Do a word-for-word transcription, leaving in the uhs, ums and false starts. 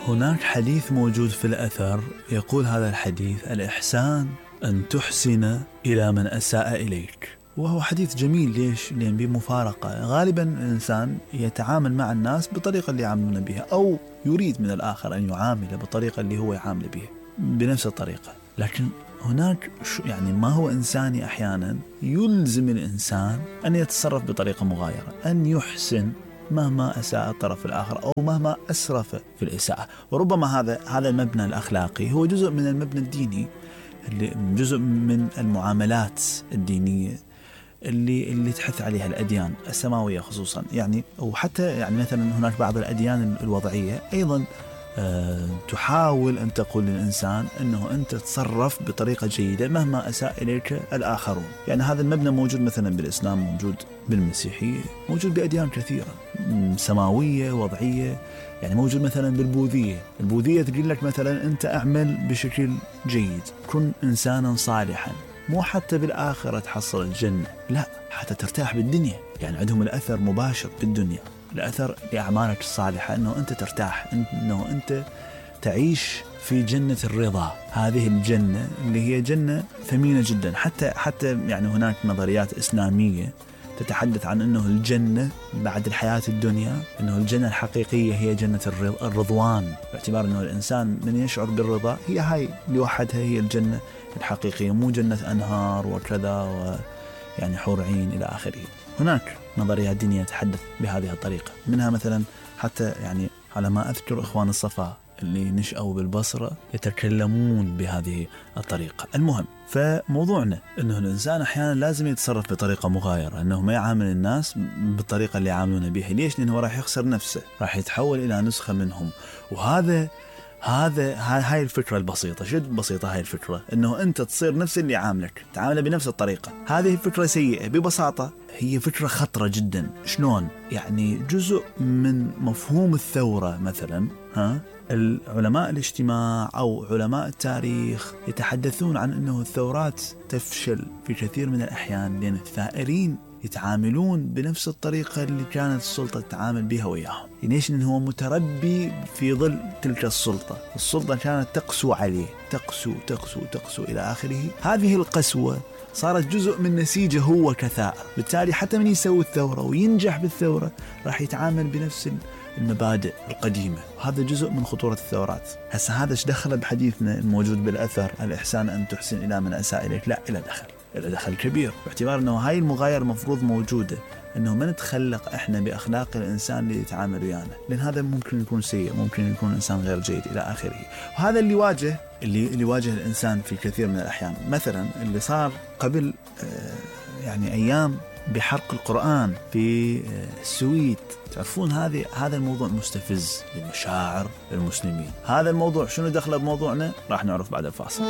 هناك حديث موجود في الأثر يقول هذا الحديث: الإحسان أن تحسن إلى من أساء إليك. وهو حديث جميل. ليش؟ لأن بمفارقة غالبا الإنسان يتعامل مع الناس بطريقة اللي يعاملون بها، أو يريد من الآخر أن يعامله بالطريقة اللي هو يعامل بها بنفس الطريقة. لكن هناك يعني ما هو إنساني أحيانا يلزم الإنسان أن يتصرف بطريقة مغايرة، أن يحسن مهما أساء الطرف الآخر أو مهما أسرف في الإساءة. وربما هذا هذا المبنى الأخلاقي هو جزء من المبنى الديني، اللي جزء من المعاملات الدينية اللي اللي تحث عليها الأديان السماوية خصوصا. يعني وحتى يعني مثلا هناك بعض الأديان الوضعية أيضا أه تحاول أن تقول للإنسان أنه أنت تصرف بطريقة جيدة مهما أساء إليك الآخرون. يعني هذا المبنى موجود مثلا بالإسلام، موجود بالمسيحية، موجود بأديان كثيرة سماوية وضعية. يعني موجود مثلا بالبوذية. البوذية تقول لك مثلا أنت أعمل بشكل جيد، كن إنسانا صالحا، مو حتى بالآخرة تحصل الجنة، لا، حتى ترتاح بالدنيا. يعني عندهم الأثر مباشر بالدنيا، الأثر لأعمالك الصالحة أنه أنت ترتاح، أنه أنت تعيش في جنة الرضا. هذه الجنة اللي هي جنة ثمينة جدا. حتى حتى يعني هناك نظريات إسلامية تتحدث عن أنه الجنة بعد الحياة الدنيا، أنه الجنة الحقيقية هي جنة الرضوان، باعتبار أنه الإنسان من يشعر بالرضا هي هاي لوحدها هي الجنة الحقيقية، مو جنة أنهار وكذا ويعني حور عين إلى آخره. هناك نظريات دينية تحدث بهذه الطريقة، منها مثلا حتى يعني على ما أذكر إخوان الصفا اللي نشأوا بالبصرة يتكلمون بهذه الطريقة. المهم، فموضوعنا أنه الإنسان أحيانا لازم يتصرف بطريقة مغايرة، أنه ما يعامل الناس بالطريقة اللي يعاملون بها. ليش؟ لأنه راح يخسر نفسه، راح يتحول إلى نسخة منهم. وهذا هذا هاي الفكرة البسيطة. شد بسيطة هاي الفكرة، أنه أنت تصير نفس اللي عاملك، تعامله بنفس الطريقة. هذه فكرة سيئة ببساطة، هي فكرة خطرة جدا. شلون؟ يعني جزء من مفهوم الثورة مثلا. ها العلماء الاجتماع أو علماء التاريخ يتحدثون عن أنه الثورات تفشل في كثير من الأحيان لأن الثائرين يتعاملون بنفس الطريقة اللي كانت السلطة تتعامل بها وياهم. ليش؟ لأنه هو متربي في ظل تلك السلطة. السلطة كانت تقسو عليه، تقسو تقسو تقسو إلى آخره. هذه القسوة صارت جزء من نسيجه هو كثائر. بالتالي حتى من يسوي الثورة وينجح بالثورة راح يتعامل بنفس المبادئ القديمة. هذا جزء من خطورة الثورات. هسه هذا ايش دخل بحديثنا الموجود بالأثر الإحسان أن تحسن إلى من أساء إليك؟ لا، إلى دخل إلى دخل كبير، باعتبار أنه هاي المغايرة مفروض موجودة، أنه ما نتخلق إحنا بأخلاق الإنسان اللي يتعامل ويانا، لأن هذا ممكن يكون سيء، ممكن يكون إنسان غير جيد إلى آخره. وهذا اللي واجه اللي اللي واجه الإنسان في كثير من الأحيان. مثلا اللي صار قبل آه يعني أيام بحرق القرآن في آه السويد. تعرفون هذه هذا الموضوع مستفز لمشاعر المسلمين. هذا الموضوع شنو دخله بموضوعنا؟ راح نعرف بعد الفاصل.